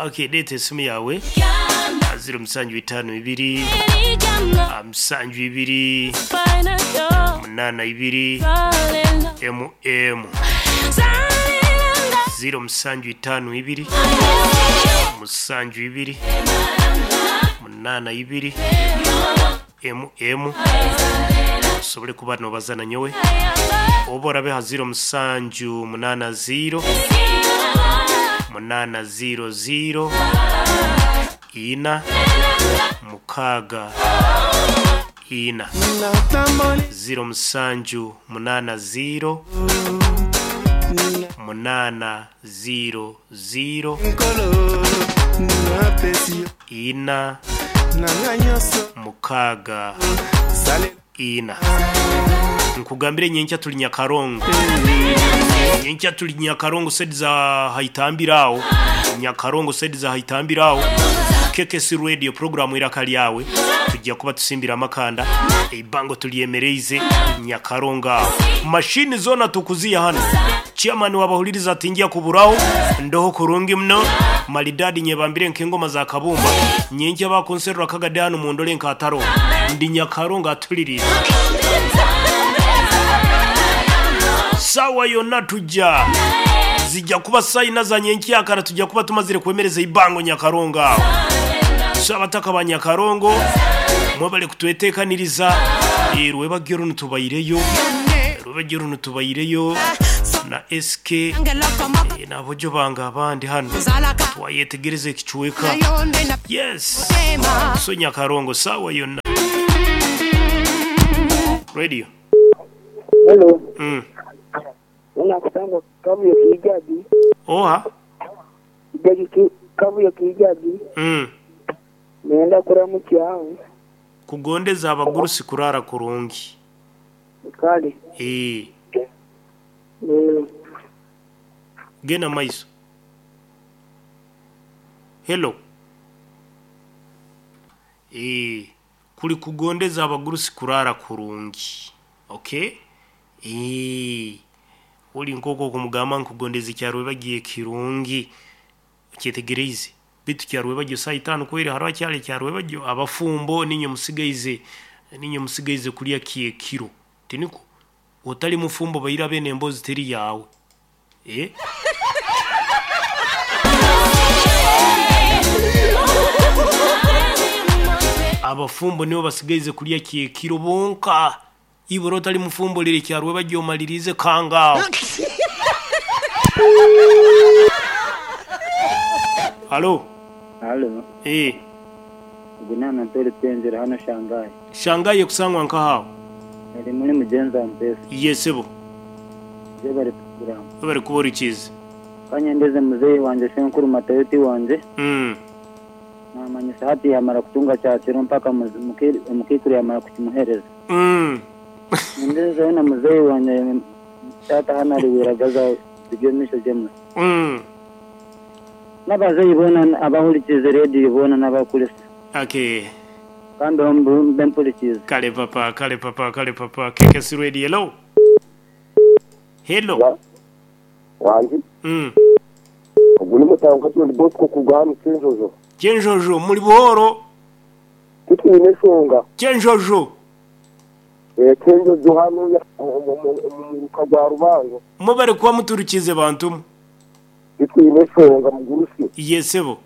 Okay, leeta esimu yawe 0752 72 82 mm 0752 72 82 mm osobole kuba nobaza na nyowe oba orabe ha 0780 800 ina mukaaga ina 0780 800 ina mukaaga ina. Nkugambire nyenkya tuli Nyakarongo, nyenkya tuli Nyakarongo sedi za haitambira aho, Nyakarongo sedi za haitambira aho. KKC Radio program iraka lyawe tujja kuba tusimbira amakanda eibango tulyemereize Nyakarongo aho. Mashini zona tukuziya hano, chairman wabahuliriza atingia kuburaho ndoho kurungi mno malidadi nyebambire nk'engoma za kabumba nyenkya bakonserera kagade hano mundole nkataro ndi Nyakarongo atulirira sawa yonna tujja zijja kuba sayina za nyenkyakara tujja kuba tumazire kwemereza ibango Nyakarongo aho. So abataka ba Nyakarongo mwebale kutwetekaniriza rwebagyo runo tubaireyo rwebagyo runo tubaireyo na SK nabojo banga abandi hano twayetegereza ekichweka. Yes, so Nyakarongo sawa yonna radio. Hello. Unakusanga kavuyo kijagi. Oha. Kijagi kavuyo kijagi. Nenda kuramukya aho. Kugondeza abagurusi kurara kurungi. Kale. Gena maiso. Hello. Kuli kugondeza abagurusi kurara kurungi. Okay? Uli nkoko kumugamba nkugondeza ekyarwe bagiye kirungi kyetegereize bitu kyarwe bagyo saa itano kweri hariho akyali kyarwe bagyo abafumbo ninyo musigayize kulya kyekiro tiniko otali mufumbo bayira bene embozi teri yawe. Abafumbo nibo basigayize kulya kyekiro bonka. Iburo otali mufumbo lire kyarwe bagyo malirize kangao. Halo. Halo. Gunana mpere tenzera hano Shanghai. Shanghai kusangwa nkahawo. Ari muri mugenza mpesa. Yesebo. Je bari program. Bari kubora ikizi. Kanyendeze muzeyi wanje Senkuru Matayoti wanje. Namanyisa hati yamara kutunga cyakiro mpaka mukikuru yamara kukimuhereza. Ndeze na muzeyi wanje tata hano ari wiragaza bigemisho jemwe. N'abazeyi bona abahurikize radio bona n'abakurisa. Okay. Kandi mbempurikize. Kale papa, kale papa, kale papa. KKC Radio, hello. Hello. Wanji. Ubu ni mutanga ndi Bosco kugana Kenjojo. Kenjojo muri buhoro. Tutine shonga. Kenjojo. Kenjojo hano mu rwa Rubango. Mubare kuba muturukize bantu. Tutine shonga mugurusi. Yesebo.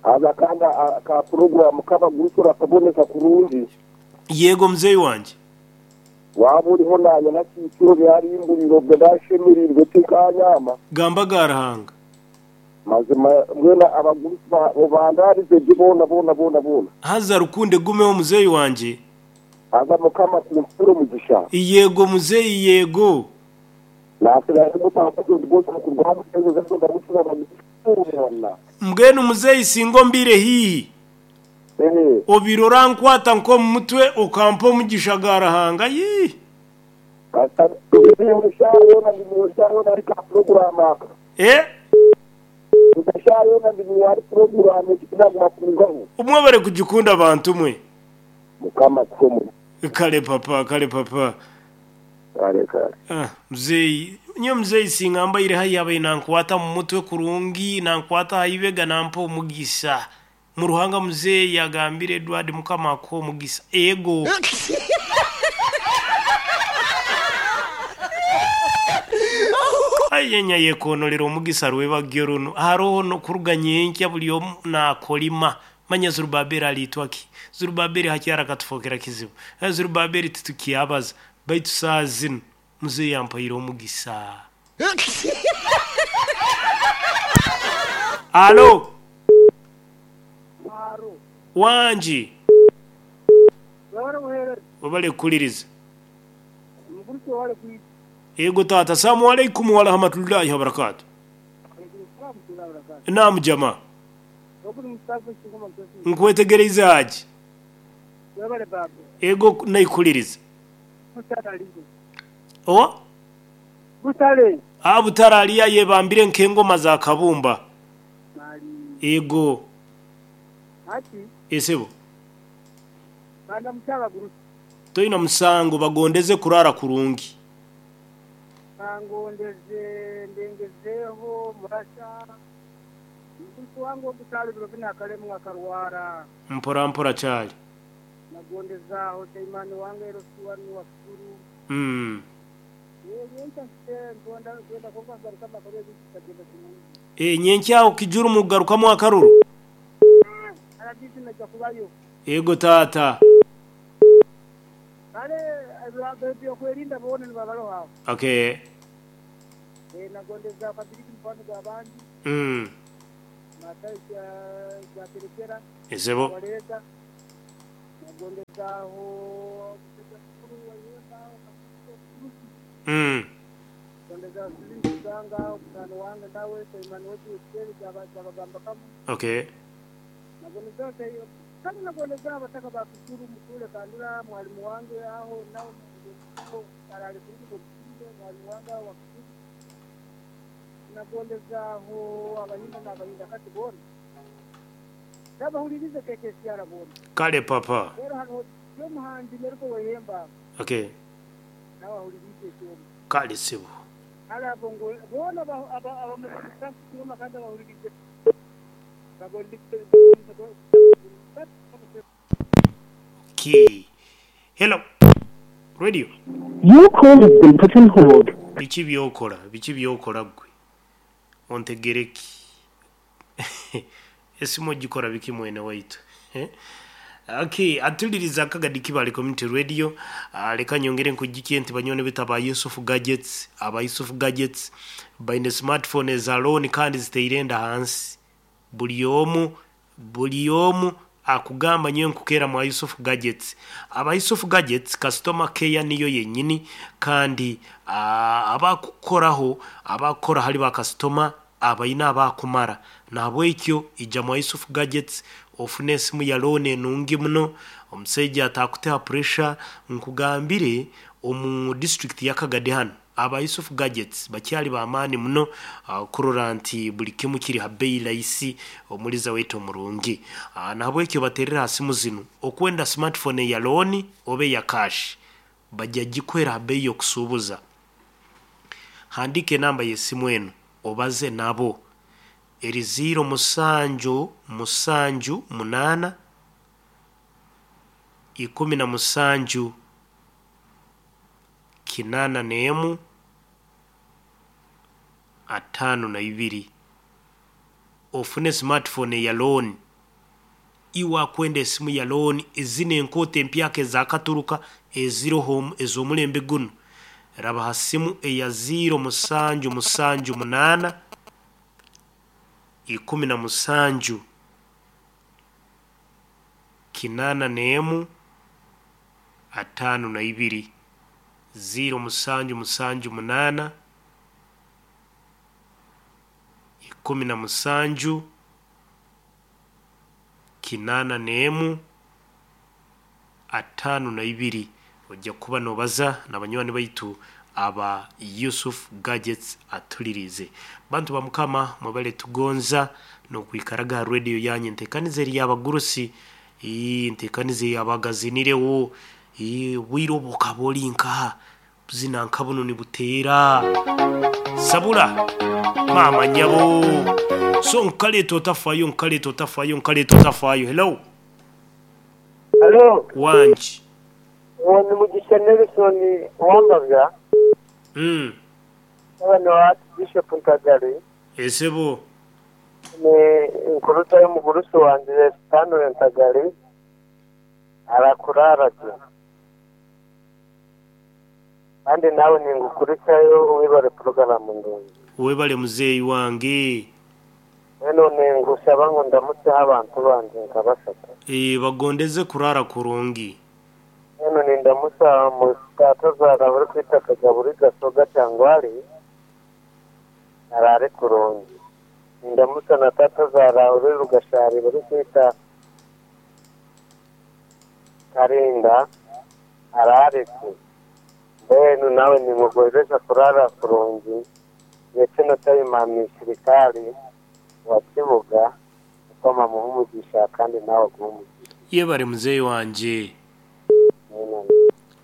Aza kanda ka program k'abagurusi rakaboneka kurungi. Yego mzeyi wanje. Waba uriho nanya na kiciro byari imburiro bwashemirwe tikanyama. Gamba garahanga. Mazima mwena abagurusi bandarize bona bona bona bona. Haza rukunde gumeho muzeyi wanje. Aza mukama kumpuro mugisha. Yego muzeyi yego. Mbwenu muzeyi singo mbire hihi. Obirora nkwata nko mutwe okampa omugisha garahanga yi. Umwe bare kujikunda abantu mwe. Kale papa, kale papa. Kale kale. Mzeyi Nyowe muzeeyi singa mbaire haihi abaire nankwata mu mutwe kurungi, nankwata aha ibega nampa omugisa. Mu Ruhanga muzeeyi agambire Edward Mukama akuhe omugisa. Ego. Aye nyayekonorera omugisa rwebagyo runu. Haroho n'okuruga nyenkya buri omu nakolima. Manya Zerubabeli aliitwa ki? Zerubabeli hati arakatufokera kizibu. Zerubabeli titukyabaza. Baitu saaha zinu muzeeyi ampaire omugisa. Alo. Wangi. Webale kuhuliriza. Ego taata. Salamu alaikum warahmatullahi wabarakatuh. Naam jama. Nkwetegereize Haji. Ego naikuhuliriza. Owa? Ah, Butare aliyo ayebambire nk'engoma za kabumba. Ego. Esebo. Toina musango bagondeze kurara kurungi. Mpora mpora kyali. Mm. Eh, nyenkya aho kijuru mugarukamu akaruru. Ego taata. Okay. Mm. Esebo. Mm. Okay. Kale papa. Okay. Kale sebo. Okay. Hello. Radio. Your call has been put on hold. Biki by'okola? Biki by'okola ggwe? Ontegere ki? Esimu ogikora biki mwene waitu? Okay, atuliriza akagadi Kibale Community Radio. Leka nyongere nkujjukie nti banywani baitu aba Yusuf Gadgets, aba Yusuf Gadgets baine smartphone eza loan kandi ziteire enda hansi. Buri omu buri omu akugamba nyowe nkukeera mwa Yusuf Gadgets. Aba Yusuf Gadgets customer care niyo yenyini kandi abakukoraho abakukora hali ba kasitoma abaine abakumara. Nahabwekyo ija mwa Yusuf Gadgets ofune esimu ya loan enungi muno, omusaija atakuteha pressure. Nkugambire omu district ya Kagadi hanu aba Yusuf Gadgets bakyali b'amaani muno kurora nti buli kimu kiri ha bei rahisi omuliza waitu omurungi. Nahabwekyo baterere ha simu zinu okwenda smartphone eya loan oba eya cash bajja gikuhera ha bei y'okusuubuza. Handiika enamba y'esimu enu obaze nabo eri ziiro musanju musanju munaana 17 81 52 ofune smartphone eya loan. Iwe akwenda esimu ya loan ezino enkooto empyaka ezakaturuka eziroho ez'omulembe gunu raba ha simu eya ziiro musanju musanju munaana 17 81 52 ziiro musanju musanju munaana 17 81 52 ojja kuba nobaza na banywani baitu aba Yusuf Gadgets atulirize. Bantu ba Mukama mwebale tugonza n'okwikaraga ha radio yanyu entekaniza eri y'abagurusi ntekaniza ey'abagazinirewo obwire obu okaba ori nkaha Buzina nka bunu nibuteera. Sabula maama nyabo. So nkaleeta otafayo nkaleeta otafayo nkaleeta otafayo. Hello. Halo, Wangi. uwo ni Mugisha Nelson Wambabya, mutabani wa Archbishop Ntagali, Esebo. ni nkuruta y'omugurusi wangye Stanley Ntagali, arakuraara gye. Kandi naawe ningukurikyayo webare puroguramu ndungi. Webale muzeeyi wange. Mbwenu ningushaba ngu ndamutseho abantu bangye nka bashatu. Eeh bagondeze kuraara kurungi. Mbwenu nindamutsya mutaatazaara orikwetwa Kagaburi Gasoga Kyangwari araare kurungi. Nindamutsya na taatazaara ori Rugashari orikweta Karinda araare gye. Mbwenu nawe ninkugwezesa kuraara kurungi ndetse na Tayimani Sirikari wa Kibuga Mukama amuhe omugisha kandi nawe aguhe omugisha. Yebare muzeyi wangye. Amen.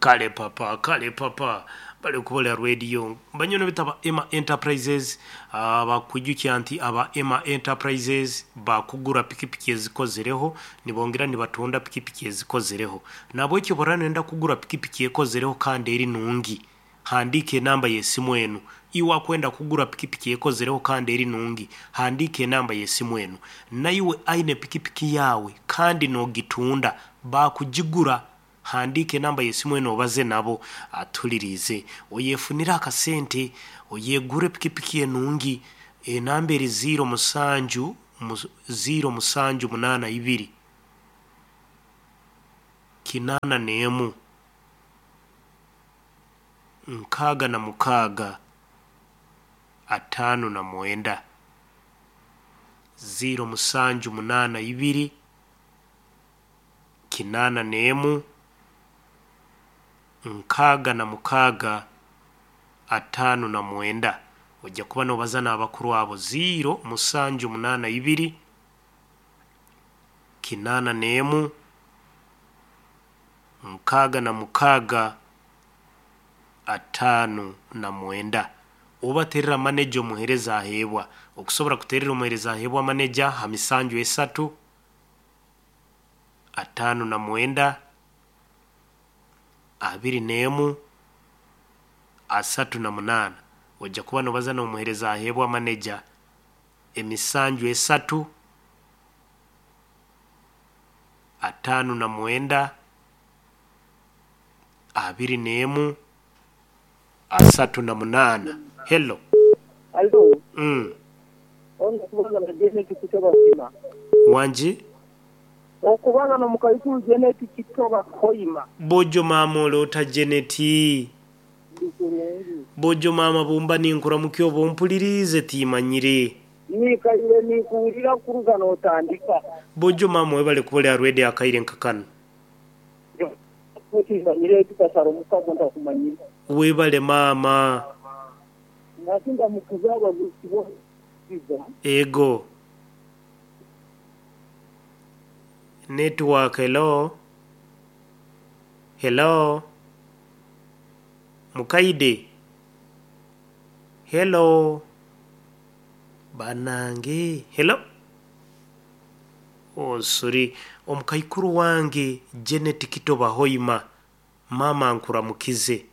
Kale papa kale papa bali kubola radio banyono bita ba Emma Enterprises bakwijukya nti aba Emma Enterprises bakugura pikipiki ezikozereho nibongera nibatunda pikipiki ezikozereho nabwekyo bworaba noyenda kugura pikipiki ekozereho kandi eri nungi handiika enamba yesimu enu iwe akwenda kugura pikipiki ekozereho kandi eri nungi handiika enamba yesimu enu naiwe aine pikipiki yawe kandi nogitunda bakugigura Handiika enamba y'esimu enu obaze nabo. Atuliriize. Oyefunire akasente oyegurre pikipiki enungi. Enamba eri ziiro musanju, ziiro musanju munaana ibiri, kinaana n'emu, 66, 59. Ziiro musanju munaana ibiri. 81, 66, 59. Oija kuba noobaza n'abakuru abo, ziiro musanju munaana ibiri, 81, 66, 59. Obaterera maneja omuheereza aheebwa. Okusobora kuterera omuheereza aheebwa maneja ha misanju esatu, 59, 21, 38. Oija kuba nobaza n'omuheereza aheebwa maneja emisanju esatu, 59, 21, 38. Hello. Halo, Mm. Okubaza na Janet Kitoba Hoima. Wangi? Okubaza no mukaikuru Janet Kitoba Hoima. Bojo maama ole ota Janet? Ndi kurungi. Bojo maama bwomba ninkuramukya oba ompuliriize tiimanyire. Nikaire ninkuwulira kuruga notandika. Bojo maama webale kuba oli aha rwedi akaire nka kanu. Timanyire tukasara omukago ntakumanyire. Webale maama. Nasi ndamukiza abagurusi bona Kiza. Ego. Network hello. Hello. Mukaide. Hello. Banange. Hello. Oh sorry. Omukaikuru wange Janet Kitoba Hoima. Maama nkuramukize.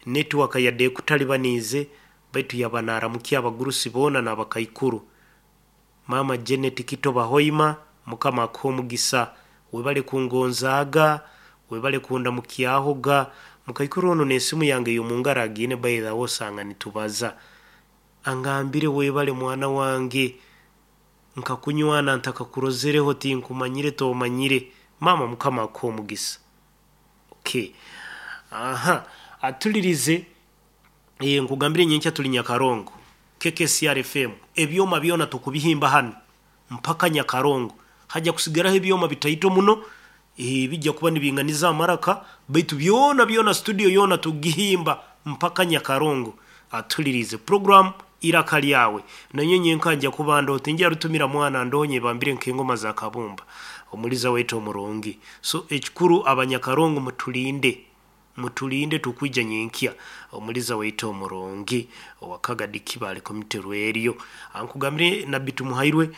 Network yadde ekutalibaniize baitu yaba naramukya abagurusi boona n'abakaikuru. Maama Janet Kitoba Hoima Mukama akuhe omugisa. Webale kungonzaaga, webale kundamukyahoga. Mukaikuru onu n'esimu yange ey'omungaro agiine by the way osanga nitubaza. Angambire webale mwana wange nkakunywana ntakakurozereho tinkumanyire tomanyire. Maama Mukama akuhe omugisa. Okay. Aha, atulirize eh, nkugambire nyenkya tuli Nyakarongo. KKCR FM. Ebyoma byona tukubihimba hanu mpaka Nyakarongo. Haja kusigaraho ebyoma bitaito muno eh, bijja kuba nibinganiza amaraka baitu byona byona studio yona tugihimba mpaka Nyakarongo. Atulirize program Iraka Lyawe. Nanye nyenka nja kuba ndoho tinja rutumira mwana ndonye bambire nk'engoma za kabumba. Omuliza waitu omurungi. So ekikuru abanyakarongo mutulinde. Mutulinde tukwija nyenkya. Omuliza waitu omurungi owakagadi Kibale Community Radio. Ankugambire Nabbi Tumuhairwe,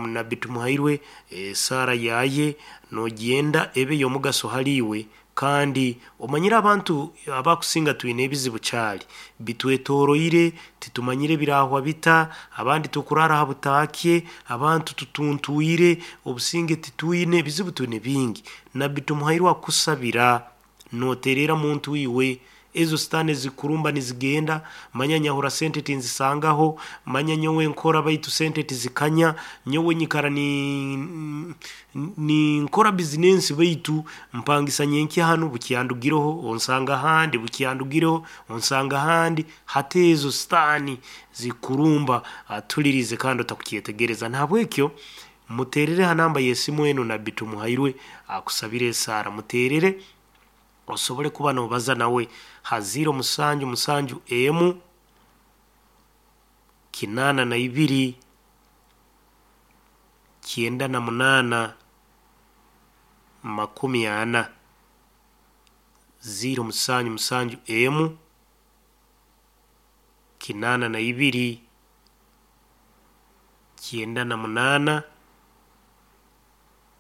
Nabbi Tumuhairwe, esaara yaye nogyenda ebe y'omugaso haliiwe. Kandi omanyire abantu abakusinga twine ebizibu kyali bitwetoroire, titumanyire birahwa bita, abandi tukurara ha butaakye, abantu tutuntwire, obusinge titwine, ebizibu twine bingi. Nabbi Tumuhairwe akusabira noterera muntu iwe, ezo sitaani zikurumba nizigenda, manya nyahura sente tinzisangaho, manya nyowe nkora baitu sente tizikanya, nyowe nyikara ni nkora bizinensi baitu mpangisa nyenkya hanu bukyandugireho onsanga ahandi, bukyandugireho onsanga ahandi. Hati ezo sitaani zikurumba, atulirize kandi otakukyetegereza. Nahabwekyo muterere ha namba y'esimu enu Nabbi Tumuhairwe akusabire esaara, muterere osobole kuba nobaza nawe ha 0 7 7 82 98 40 0 7 7 1 82 98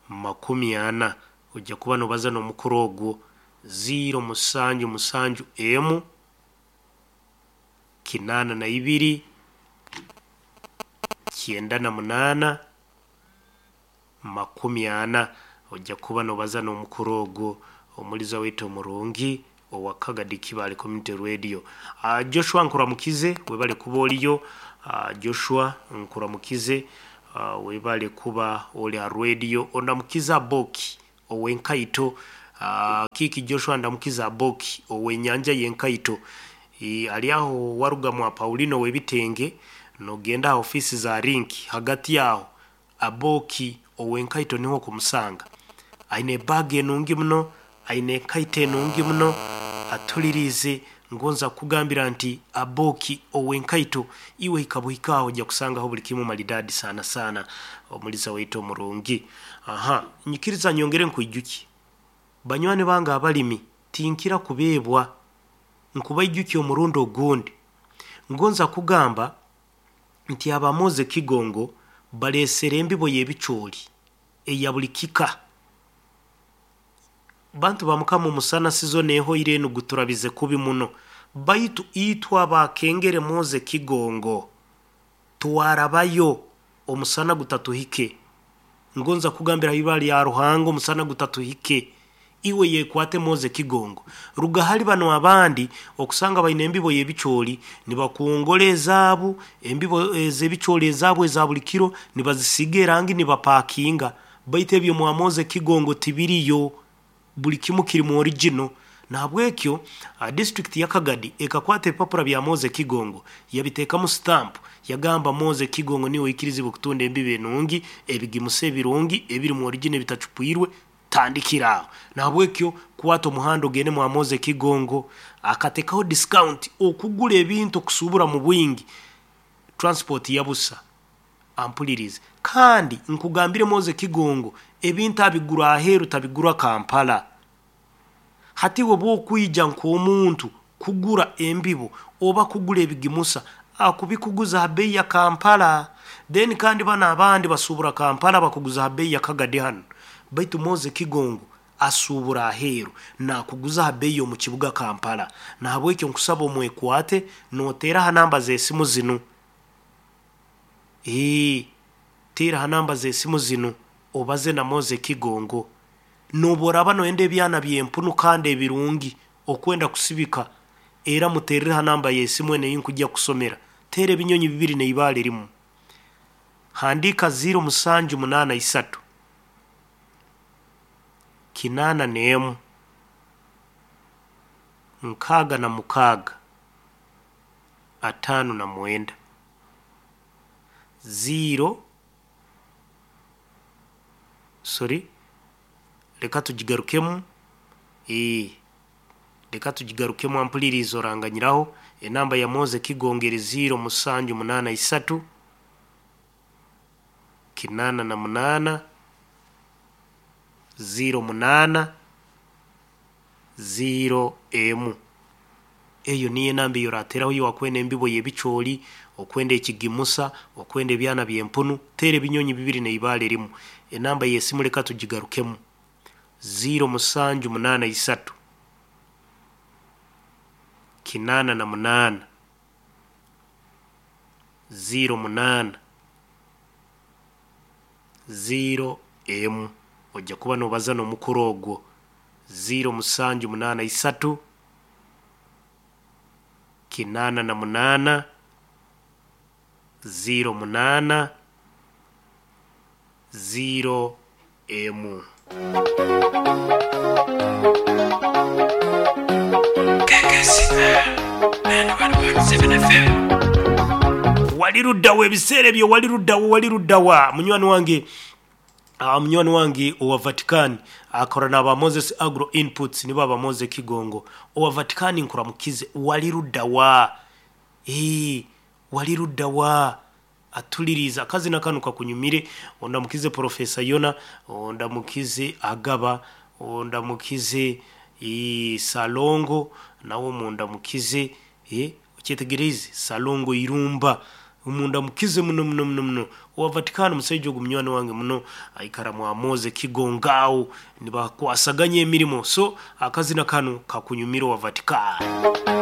40. Ojja kuba nobaza n'omukuru ogwo 0 7 7 1 82 98 40. Ojja kuba nobaza n'omukuru ogwo omuliza waitu omurungi owa Kagadi Kibale Community Radio. Joshua nkuramukize, webale kuba oliyo. Joshua nkuramukize, webale kuba oli ha radio. Ondamukiza Boki owenkaito. Kiki Joshua ndamukiza Boki owenyanja yenkaito. Ali aho waruga mwa Paulino webitenge nogenda aha ofisi za Link, hagati yaho Aboki owenkaito niho kumusanga. Aine bag enungi muno, aine enkaito enungi muno, atulirize. Ngonza kugambira nti Aboki owenkaito iwe hikabuhikaho ojja kusangaho buli kimu maridadi sana sana. Omuliza waitu omurungi. Aha, nyikiriza nyongere nkwijuki banywani bange abalimi, tinkira kubeebwa nkubaijuki omurundi ogundi. Ngonza kugamba nti abamoze Kigongo balesere embibo y'ebicooli eya buli kika. Bantu ba Mukama, omusana sizo nehoire enu guturabize kubi muno, baitu itwe abakengere Moze Kigongo twarabayo omusana gutatuhike. Ngonza kugambira ibara lya Ruhanga, omusana gutatuhike. Iwe yekwate Moze Kigongo. Ruga hali bano abandi okusanga baine embibo y'ebicooli nibakungora ezaabu, embibo ez'ebicooli ezaabu eza buli kiro nibazisiga erangi nibapakinga, baitu ebyo mwa Moze Kigongo tibiriyo, buli kimu kiri mu original. Nahabwekyo district ya Kagadi ekakwata ebipapura bya Moze Kigongo yabiteekamu stamp, yagamba Moze Kigongo niwe oikirizibwe kutunda embibo enungi, ebigimusa ebirungi ebiri mu original ebitacupwirwe, tandikira aho. Nahabwekyo kwata omuhanda ogende mwa Moze Kigongo, akatekaho discount okugura ebintu okusubura mu bwingi, transport yabusa. Ampulirize kandi nkugambire Moze Kigongo ebintu abigura aheeru, tabigura Kampala. Hati we bwokwija nk'omuntu kugura embibo oba kugura ebigimusa, akubikuguza ha bei ya Kampala. Then kandi bano abandi basubura Kampala bakuguza ha bei ya Kagadi hano, baitu Moze Kigongo asubura aheeru nakuguza ha bei omu kibuga Kampala. Nahabwekyo nkusaba omwekwate noteera ha namba z'esimu zinu. Teera ha namba z'esimu zinu obaze na Moze Kigongo. Noba oraba noyenda ebyana by'empunu kandi ebirungi okwenda kusibika, era muterere ha namba y'esimu enu eyinkujja kusomera. Teera ebinyonyi bibiri neibaale rimu. Handika 0 7 8 3 81 66 59 0. Sorry, reka tugigarukemu. Reka tugigarukemu, ampuliriza oranganyiraho. Enamba ya Moze Kigongo eri 0 7 8 3 88 08 0 emu. Eyo niyo enamba eyorateraho yowakwenda embibo y'ebicoori, okwenda ekigimusa, okwenda ebyana by'empunu, teera ebinyonyi bibiri n'eibaare rimu. Enamba y'esimu leka tugigarukemu 0783 88 08 0 emu. Ojja kuba nobaza n'omukuru ogwo 0783 88 08 0 emu. Wali luddawa ebiseera ebyo wali luddawa wali luddawa munywani wange munywani wange owa Vatican akora n'aba Moses Agro Inputs nibo aba Moses Kigongo owa Vatican nkuramukize wali luddawa wali luddawa atuliriza akazina kanu kakunyumire ondamukize Profesa Yona ondamukize Agaba ondamukize Salongo nawe mundamukize okyetegereze Salongo Irumba mundamukize muno muno muno muno owa Vatican musaija ogu munywani wange muno aikara mwamoze Kigongao nibakwasaganya emirimo so akazina kanu kakunyumira owa Vatican.